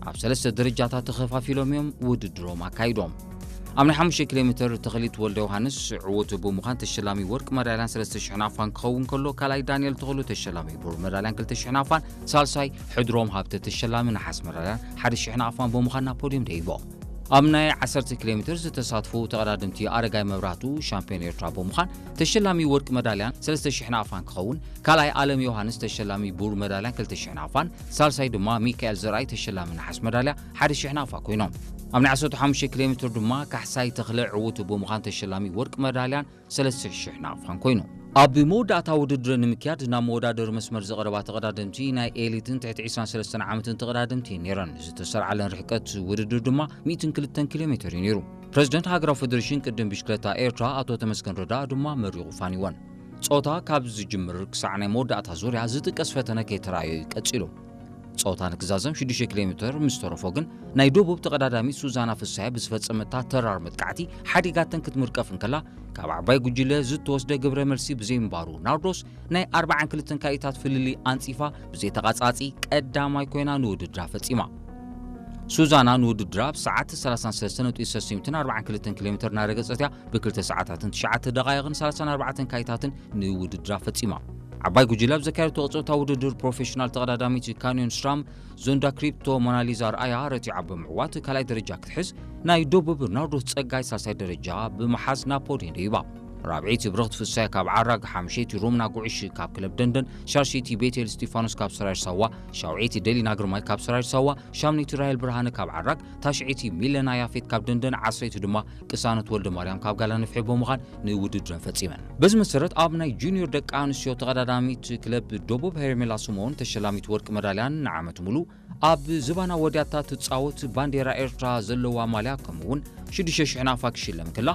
ኣብ ሰለስተ ደረጃታት ተኸፋፊሎም እዮም ውድድሮም ኣካይዶም። ኣብ ናይ ሓሙሽተ ኪሎ ሜትር ተኽሊት ወልደ ዮሃንስ ዕዉት ብምዃን ተሸላሚ ወርቂ መዳልያን ሰለስተ ሽሕ ናቕፋን ክኸውን ከሎ፣ ካልኣይ ዳንኤል ተኽሉ ተሸላሚ ብሩር መዳልያን ክልተ ሽሕ ናቕፋን፣ ሳልሳይ ሕድሮም ሃብተ ተሸላሚ ነሓስ መዳልያን ሓደ ሽሕ ናቕፋን ብምዃን ናብ ፖድዮም ደይቦም። ኣብ ናይ ዓሰርተ ኪሎ ሜትር ዝተሳትፉ ተቐዳደምቲ ኣረጋይ መብራህቱ ሻምፒዮን ኤርትራ ብምዃን ተሸላሚ ወርቂ መዳልያን ሰለስተ ሽሕ ናቕፋን ክኸውን፣ ካልኣይ ኣለም ዮሃንስ ተሸላሚ ብሩር መዳልያን ክልተ ሽሕ ናቕፋን፣ ሳልሳይ ድማ ሚካኤል ዘርኣይ ተሸላሚ ነሓስ መዳልያ ሓደ ሽሕ ናቕፋ ኮይኖም። ኣብ ናይ ዓሰርተ ሓሙሽተ ኪሎ ሜትር ድማ ካሕሳይ ተኽለ ዕዉት ብምዃን ተሸላሚ ወርቂ መዳልያን ሰለስተ ሽሕ ናቕፋን ኮይኑ። ኣብ መወዳእታ ውድድር ንምክያድ ናብ መወዳደሪ መስመር ዝቐረባ ተቐዳደምቲ ናይ ኤሊትን ትሕቲ ዕስራን ሰለስተን ዓመትን ተቐዳደምቲ ነይረን። ዝተሰርዓለን ርሕቀት ውድድር ድማ ሚእትን ክልተን ኪሎ ሜትር እዩ ነይሩ። ፕረዚደንት ሃገራዊ ፌደሬሽን ቅድም ብሽክለታ ኤርትራ ኣቶ ተመስገን ረዳ ድማ መሪቑ ፋኒወን። ጾታ ካብ ዝጅምር ክሳዕ ናይ መወዳእታ ዙርያ ዝጥቀስ ፈተነ ከይተራእዮ እዩ ቀጺሉ። ጾታ ንክዛዘም ሽዱሽተ ኪሎ ሜትር ምስ ተረፎ ግን ናይ ደቡብ ተቐዳዳሚት ሱዛና ፍሳየ ብዝፈጸመታ ተራር መጥቃዕቲ ሓዲጋተን ክትምርቀፍ እንከላ፣ ካብ ዓባይ ጉጅለ ዝተወስደ ግብረ መልሲ ብዘይምንባሩ ናርዶስ ናይ ኣርባዓን ክልተን ካኢታት ፍልልይ ኣንጺፋ ብዘይተቓጻጺ ቀዳማይ ኮይና ንውድድራ ፈጺማ። ሱዛና ንውድድራ ብሰዓት ሰላሳን ሰለስተን ነጥቢ ሰለስተ ሚእትን ኣርባዓን ክልተን ኪሎ ሜትር እናረገጸት እያ ብክልተ ሰዓታትን ትሽዓተ ደቓይቕን ሰላሳን ኣርባዕተን ካኢታትን ንውድድራ ፈጺማ። ዓባይ ጉጅለ ኣብ ዘካየደቶ ቅጽበታዊ ውድድር ፕሮፌሽናል ተቐዳዳሚት ካንዮን ስራም ዞንዳ ክሪፕቶ ሞናሊዛ ርኣያ ረቲዓ ብምዕዋት ካልኣይ ደረጃ ክትሕዝ፣ ናይ ደቡብ ናርዶስ ጸጋይ ሳልሳይ ደረጃ ብምሓዝ ናብ ፖድየም ደይባ። ራብዐይቲ ብርኽቲ ፍሳይ ካብ ዓራግ፣ ሓምሸይቲ ሮምና ጉዕሽ ካብ ክለብ ደንደን፣ ሻልሸይቲ ቤቴል እስጢፋኖስ ካብ ሰራየር ሳዋ፣ ሻውዐይቲ ደሊና ግርማይ ካብ ሰራየር ሳዋ፣ ሻምነይቲ ራሄል ብርሃነ ካብ ዓራግ፣ ታሽዐይቲ ሚለና ያፌት ካብ ደንደን፣ ዓስረይቲ ድማ ቅሳነት ወልደ ማርያም ካብ ጋላ ንፍሒ ብምዃን ንውድድረን ፈጺመን። በዚ መሰረት ኣብ ናይ ጁኒዮር ደቂ ኣንስትዮ ተቐዳዳሚት ክለብ ደቡብ ሄርሜላ ስምኦን ተሸላሚት ወርቂ መዳልያን ንዓመት ሙሉ ኣብ ዝባና ወድያታ ትጻወት ባንዴራ ኤርትራ ዘለዋ ማልያ ከምኡ እውን ሽዱሽተ ሽሕ ናቕፋ ክሽለም ክላ፣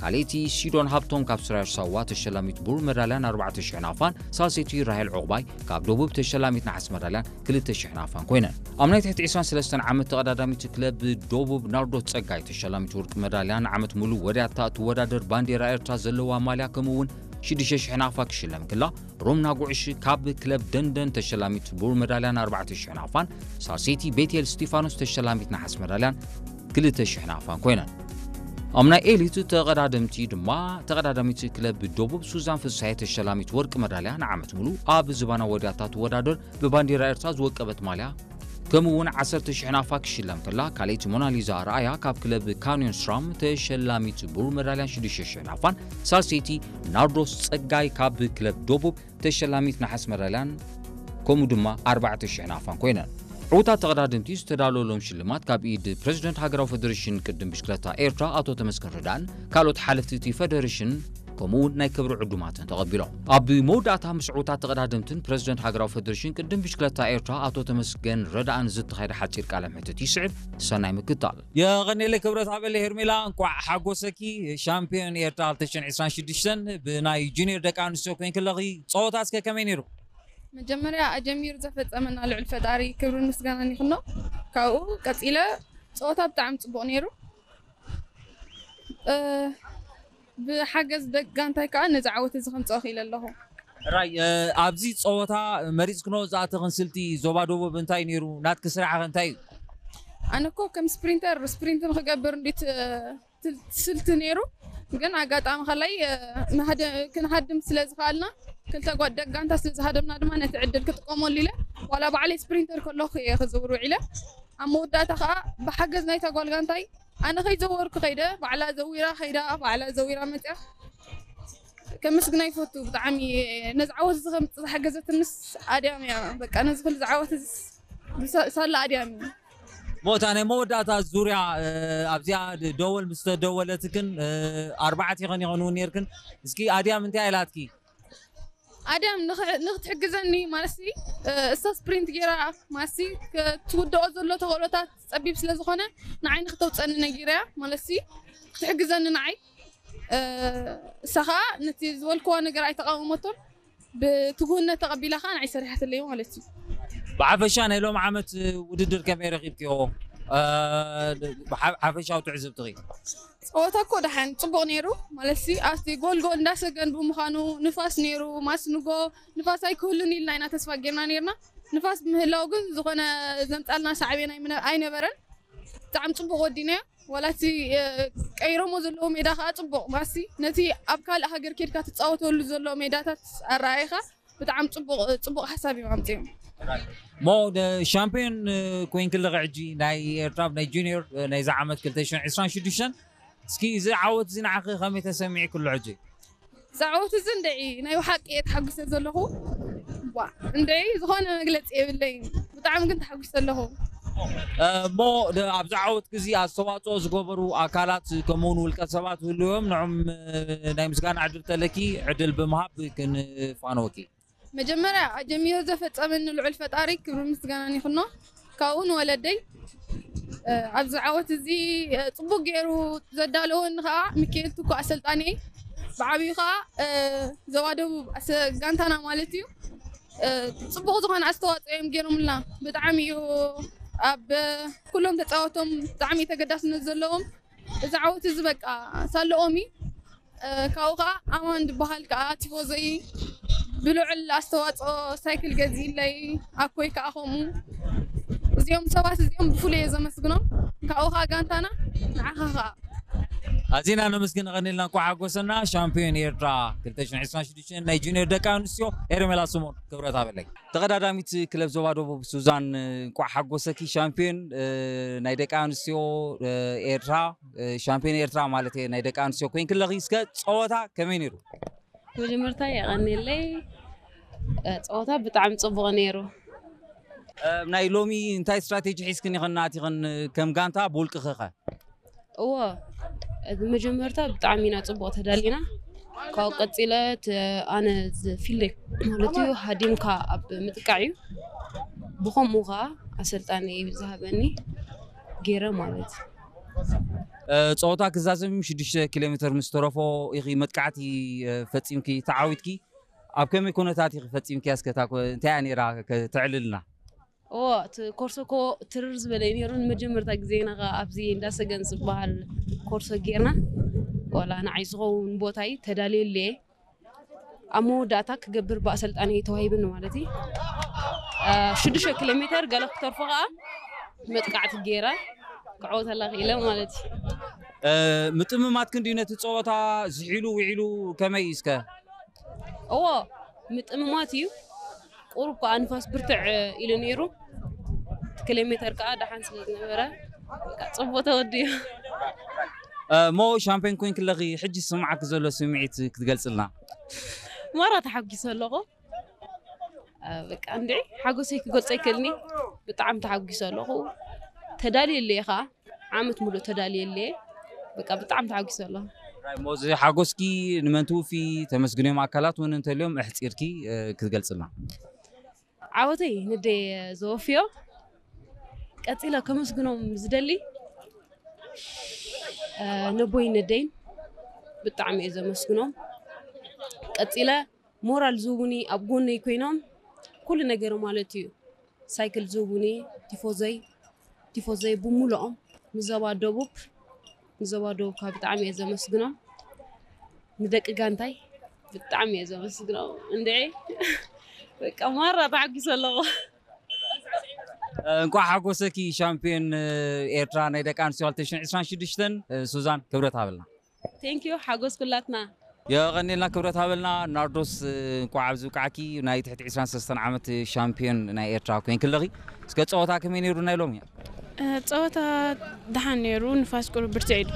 ካልኣይቲ ሲዶን ሃብቶም ካብ ስራየር ሳዋ ተሸላሚት ብሩር መዳልያን ኣርባዕተ ሽሕ ናቕፋን፣ ሳልሰይቲ ራሄል ዑቕባይ ካብ ደቡብ ተሸላሚት ነሓስ መዳልያን ክልተ ሽሕ ናቕፋን ኮይነን። ኣብ ናይ ትሕቲ ዕስራን ሰለስተን ዓመት ተቐዳዳሚት ክለብ ደቡብ ናርዶስ ጸጋይ ተሸላሚት ወርቂ መዳልያን ዓመት ሙሉ ወድያታ እትወዳደር ባንዴራ ኤርትራ ዘለዋ ማልያ ከምኡ እውን ሽዱሽተ ሽሕ ናቕፋ ክሽለም ክላ፣ ሮምና ጉዕሽ ካብ ክለብ ደንደን ተሸላሚት ብሩር መዳልያን ኣርባዕተ ሽሕ ናቕፋን፣ ሳልሰይቲ ቤቴል እስጢፋኖስ ተሸላሚት ነሓስ መዳልያን ክልተ ሽሕ ናቕፋን ኮይነን። ኣብ ናይ ኤሊት ተቐዳደምቲ ድማ ተቐዳዳሚት ክለብ ደቡብ ሱዛን ፍሳየ ተሸላሚት ወርቂ መዳልያ ንዓመት ሙሉ ኣብ ዝባና ወድያታ ትወዳደር ብባንዴራ ኤርትራ ዝወቀበት ማልያ ከምኡ እውን ዓሰርተ ሽሕ ናቕፋ ክሽለም ከላ፣ ካልኣይቲ ሞናሊዛ ኣርኣያ ካብ ክለብ ካንዮን ስራም ተሸላሚት ብሩር መዳልያን ሽዱሽተ ሽሕ ናቕፋን፣ ሳልሰይቲ ናርዶስ ጸጋይ ካብ ክለብ ደቡብ ተሸላሚት ነሓስ መዳልያን ከምኡ ድማ ኣርባዕተ ሽሕ ናቕፋን ኮይነን። ዕዉታት ተቐዳደምቲ ዝተዳለወሎም ሽልማት ካብ ኢድ ፕረዚደንት ሃገራዊ ፌደሬሽን ቅድም ብሽክለታ ኤርትራ ኣቶ ተመስገን ረዳእን ካልኦት ሓለፍቲ እቲ ፌደሬሽን ከምኡ እውን ናይ ክብሪ ዕዱማትን ተቐቢሎም። ኣብ መወዳእታ ምስ ዕዉታት ተቐዳደምትን ፕረዚደንት ሃገራዊ ፌደሬሽን ቅድም ብሽክለታ ኤርትራ ኣቶ ተመስገን ረዳእን ዝተኻየደ ሓጺር ቃለ ምሕትት ይስዕብ። ሰናይ ምክታል። የቐኔለይ ክብረት ሃበለይ ሄርሜላ፣ እንቋዕ ሓጎሰኪ። ሻምፒዮን ኤርትራ ክልተ ሽሕን ዕስራን ሽዱሽተን ብናይ ጁኒየር ደቂ ኣንስትዮ ኮይንኪ ኣለኺ። ጸወታ እስከ ከመይ ነይሩ? መጀመርያ ኣጀሚሩ ዘፈጸመና ልዑል ፈጣሪ ክብርን ምስጋናን ይኹኖ። ካብኡ ቀጺለ ጸወታ ብጣዕሚ ጽቡቕ ነይሩ። እ፣ ብሓገዝ ደቂ ጋንታይ ከኣ ነዚ ዓወት እዚ ከምጽኦ ክኢለ ኣለኹ። ራይ፣ እ፣ ኣብዚ ጸወታ መሪጽክኖ ዝኣተኽን ስልቲ ዞባ ደቡብ እንታይ ነይሩ? ናትኪ ስራሕ ኸ እንታይ እዩ? ኣነ እኮ ከም ስፕሪንተር ስፕሪንት ንክገብር እንዴት፣ እ፣ ትል-፣ ስልቲ ነይሩ፣ ግን ኣጋጣሚ ከላይ፣ እ፣ ንሃደ-፣ ክንሃድም ስለ ዝኸኣልና፣ ክልተ ጓ-፣ ደቂ ጋንታ ስለ ዝሃደምና ድማ ነቲ ዕድል ክጥቀመሉ ኢለ፣ ዋላ ባዕለይ ስፕሪንተር ከለኹ እየ ክዝውር ውዒለ። ኣብ መወዳእታ ከኣ ብሓገዝ ናይታ ጓል ጋንታይ ኣነ ከይዘወርኩ ከይደ፣ ባዕላ ዘዊራ ከይዳ፣ ባዕላ ዘዊራ መጽያ። ከመስግና ይፈቱ። ብጣዕሚ ነዚ ዓወት እዚ ከምጽእ ዝሓገዘትንስ ኣድያም እያ። በቃ ነዚ ኩሉ ዝዓወት እዚ ሳ-፣ ሳላ ኣድያም እዩ። ሞታ ናይ መወዳእታ ዙርያ፣ እ፣ ኣብዚኣ ድ-፣ ደወል ምስ ተደወለትክን፣ እ፣ ኣርባዕተ ይኸን ይኸን እውን ነይርክን። እስኪ ኣድያም እንታይ ኢላትኪ? ኣድያም ንኽ-፣ ንኽትሕግዘኒ ማለትሲ፣ እ፣ እሳ ስፕሪንት ጌራ ማለትሲ ክትውድኦ ዘሎ ተኽእሎታት ጸቢብ ስለ ዝኾነ ንዓይ ንኽተውጸኒ ነጊረያ ማለትሲ ክትሕግዘኒ ንዓይ፣ እ፣ እሳ ኸኣ ነቲ ዝበልክዋ ነገር ኣይተቓወመቶን ብትጉህነት ተቐቢላ ኸኣ ንዓይ ሰሪሓትለይ ማለት እዩ። ብሓፈሻ ናይ ሎም ዓመት ውድድር ከመይ ረኺብክዮ? እ፣ ብሓ-፣ ሓፈሻዊ ትዕዝብትኺ? ጸወታ እኮ ደሓን ጽቡቕ ነይሩ። ማለትሲ፣ ኣብቲ ጎል ጎል እንዳሰገን ብምዃኑ፣ ንፋስ ነይሩ፣ ማስ ንጎ ንፋስ ኣይክህሉን ኢልና ኢና ተስፋ ጌርና ነይርና። ንፋስ ብምህላው ግን ዝኾነ ዘምጻልና ሳዕቤን ኣይምነ- ኣይነበረን። ብጣዕሚ ጽቡቕ ወዲናዮ። ዋላ እቲ ቀይሮሞ ዘለዎ ሜዳ ከዓ ጽቡቕ ማሲ ነቲ ኣብ ካልእ ሃገር ኬድካ ትጻወተሉ ዘሎ ሜዳታት ኣረኣይኻ ብጣዕሚ ጽቡቕ ጽቡቕ ሓሳብ እዮም ኣምጺኦም። ሞ ሻምፒዮን ኮይንክለኺ ሕጂ ናይ ኤርትራ ናይ ጁኒየር ናይዚ ዓመት ክልተ ሽሕን ዕስራን ሽዱሽተን እስኪ እዚ ዓወት እዚ ንዓኺ ከመይ ተሰሚዕክሎ ሕጂ? ዛዕወት እዚ እንድዒ ናይ ብሓቂ እየ ተሓጒሰ ዘለኹ። ዋ እንድዒ ዝኾነ መግለፂ የብለይን፣ ብጣዕሚ ግን ተሓጒሰ ኣለኹ። እሞ ኣብዚ ዓወት ግዚ ኣስተዋፅኦ ዝገበሩ ኣካላት ከምኡውን ውልቀ ሰባት ህልዎም ንዕም ናይ ምስጋና ዕድል ተለኪ ዕድል ብምሃብ ክንፋነወኪ። መጀመርያ ኣጀሚሩ ዘፈፀመኒ ልዑል ፈጣሪ ክብሪ ምስጋናን ይኹኖ። ካብኡ ንወለደይ ኣብዚ ዓወት እዚ ፅቡቅ ገይሩ ዘዳለወኒ ከዓ ሚካኤል ትኩ ኣሰልጣኒ፣ ብዓብዩ ከዓ ዞባ ደቡብ ጋንታና ማለት እዩ። ፅቡቅ ዝኾነ ኣስተዋፅኦ እዮም ገይሮምልና። ብጣዕሚ እዩ ኣብ ኩሎም ተፃወቶም ብጣዕሚ ተገዳስነት ዘለዎም። እዚ ዓወት እዚ በቃ ሳለኦም እዩ። ካብኡ ከዓ ኣማን ዝበሃል ከዓ ቲፎዞይ ብልዑል ኣስተዋፅኦ ሳይክል ገዚእለይ፣ ኣኮይ ከዓ ከምኡ። እዚኦም ሰባት እዚኦም ብፍሉይ እየ ዘመስግኖም። ካብኡ ከዓ ጋንታና ንዓኻ ከዓ ኣዚና ነመስግን። ቀኒልና እንኳዕ ሓጎሰና። ሻምፒዮን ኤርትራ ክልተ ሽሕን ዕስራን ሽዱሽተን ናይ ጁኒየር ደቂ ኣንስትዮ ኤርሜላ ስሞን ክብረት ሃበለይ። ተቐዳዳሚት ክለብ ዞባ ደቡብ ሱዛን እንኳዕ ሓጎሰኪ። ሻምፒዮን ናይ ደቂ ኣንስትዮ ኤርትራ ሻምፒዮን ኤርትራ ማለት እየ ናይ ደቂ ኣንስትዮ ኮይንክለኺ። እስከ ፀወታ ከመይ ነይሩ? መጀመርታ የቐንየለይ። ፀወታ ብጣዕሚ ፅቡቕ ነይሩ። ናይ ሎሚ እንታይ ስትራቴጂ ሒዝክን ኢኸን ኣቲኸን ከም ጋንታ ብውልቅኺ ኸ? እዎ፣ መጀመርታ ብጣዕሚ ኢና ፅቡቕ ተዳሊና። ካብኡ ቀፂለ ኣነ ዝፊልደይ ማለት እዩ ሃዲምካ ኣብ ምጥቃዕ እዩ። ብኸምኡ ከዓ ኣሰልጣኒ ዝሃበኒ ገይረ ማለት እዩ። ፀወታ ክዛዘም ሽዱሽተ ኪሎ ሜትር ምስ ተረፎ ኢኺ መጥቃዕቲ ፈፂምኪ ተዓዊትኪ። ኣብ ከመይ ኩነታት ኢኺ ፈፂምኪ? እስከ እንታይ እያ ነይራ? ተዕልልና። እዎ፣ እቲ ኮርሶ እኮ ትርር ዝበለ እዩ ነይሩ። ንመጀመርታ ግዜና ከዓ ኣብዚ እንዳሰገን ዝበሃል ኮርሶ ጌርና። ዋላ ንዓይ ዝኸውን ቦታ እዩ ተዳልየሉ እየ። ኣብ መወዳእታ ክገብር ብኣሰልጣኒ ተዋሂብኒ ማለት እዩ። ሽዱሽተ ኪሎ ሜትር ገለ ክተርፎ ከዓ መጥቃዕቲ ገይረ ክዕወተላ ክኢለ ማለት እዩ። ምጥምማት ክንዲ ነቲ ፀወታ ዝሒሉ ውዒሉ ከመይ እዩ እስከ? እዎ፣ ምጥምማት እዩ። ቁሩብ ከዓ ንፋስ ብርትዕ ኢሉ ነይሩ። ኪሎ ሜተር ከዓ ደሓን ስለ ዝነበረ በቃ ፅቡቅ ተወዲኡ። እሞ ሻምፒዮን ኮይንክለኺ ሕጂ ዝስምዓኪ ዘሎ ስምዒት ክትገልፅልና? ማራ ተሓጒሰ ኣለኹ። በቃ እንድዒ ሓጎሰይ ክገልፆ ኣይክእልኒ። ብጣዕሚ ተሓጒሰ ኣለኹ። ተዳልየ ኣለየ ከዓ ዓመት ሙሉእ ተዳልየ ኣለየ። በቃ ብጣዕሚ ተሓጒሰ ኣለኹ። ሞዚ ሓጎስኪ ንመን ትውፊ? ተመስግንዮም ኣካላት እውን እንተልዮም እሕፂርኪ ክትገልፅልና። ዓወተይ ንደይ ዘወፍዮ። ቀፂለ ከመስግኖም ዝደሊ ነቦይ ነደይን ብጣዕሚ እየ ዘመስግኖም። ቀፂለ ሞራል ዝህቡኒ ኣብ ጎነይ ኮይኖም ኩሉ ነገር ማለት እዩ። ሳይክል ዝህቡኒ ቲፎዘይ ቲፎዘይ ብምሉኦም ንዞባ ደቡብ ንዞባ ደቡብ ካብ ብጣዕሚ እየ ዘመስግኖም። ንደቂ ጋንታይ ብጣዕሚ እየ ዘመስግኖም። እንድዒ በቃ ማራ ተዓጊሰ ኣለኹ። እንኳዕ ሓጎሰኪ ሻምፒዮን ኤርትራ ናይ ደቂ ኣንስትዮ ክልተ ሽሕን ዕስራን ሽዱሽተን ሱዛን ክብረት ሃበልና። ቴንኪዩ ሓጎስ ኩላትና። የቐኔልና ክብረት ሃበልና። ናርዶስ እንኳዕ ኣብዚ ብቃዕኪ ናይ ትሕቲ ዕስራን ሰለስተን ዓመት ሻምፒዮን ናይ ኤርትራ ኮይንኪ ኣለኺ። እስከ ፀወታ ከመይ ነይሩ ናይ ሎሚ? ፀወታ ደሓን ነይሩ፣ ንፋስ ቁሩብ ብርትዕ ኢሉ።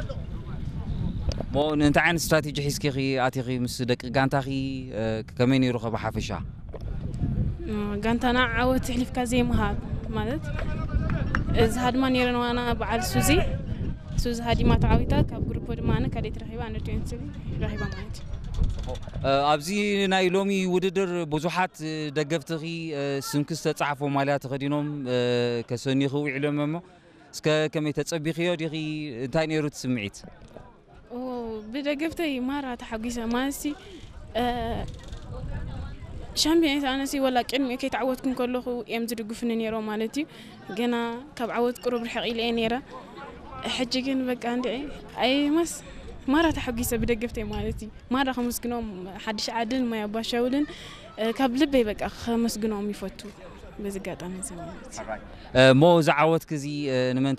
ሞ እንታይ ዓይነት ስትራቴጂ ሒዝኪ ኢኺ ኣቲኺ ምስ ደቂ ጋንታኺ? ከመይ ነይሩ ከ ብሓፈሻ? ጋንታና ዓወት ኣሕሊፍካ ዘይምሃብ ማለት እዚ ሃድማ ነይረን ዋና በዓል ሱዚ ሱዚ ሃዲማ ተዓዊታ ካብ ግሩፖ ድማ ኣነ ካልኣይቲ ረኺባ ኣንደር ትዌንቲ ረኺባ ማለት እዩ። ኣብዚ ናይ ሎሚ ውድድር ብዙሓት ደገፍትኺ ስምኪ ዝተፃሕፎ ማልያ ተኸዲኖም ከሰንዩኺ ውዒሎም እሞ እስከ ከመይ ተፀቢኽዮ ዲኺ? እንታይ ነይሩ እቲ ስምዒት? ብደገፍተይ ማራ ተሓጒሰ ማለትሲ ሻምፒዮኔት ኣነሲ ወላ ቅድሚኡ ከይተዓወትኩ እንከለኹ እዮም ዝድግፉኒ ነይሮም ማለት እዩ። ገና ካብ ዓወት ቅሩብ ርሕቕ ኢለ እየ ነይረ። ሕጂ ግን በቃ እንድዒ ኣይ ማስ ማራ ተሓጒሰ ብደገፍተይ ማለት እዩ። ማራ ከመስግኖም ሓድሽ ዓድን ማይ ኣባሻውልን ካብ ልበይ በቃ ከመስግኖም ይፈቱ። በዚ ኣጋጣሚ እዚ ማለት እዩ። እሞ እዚ ዓወትኪ እዚ ንመን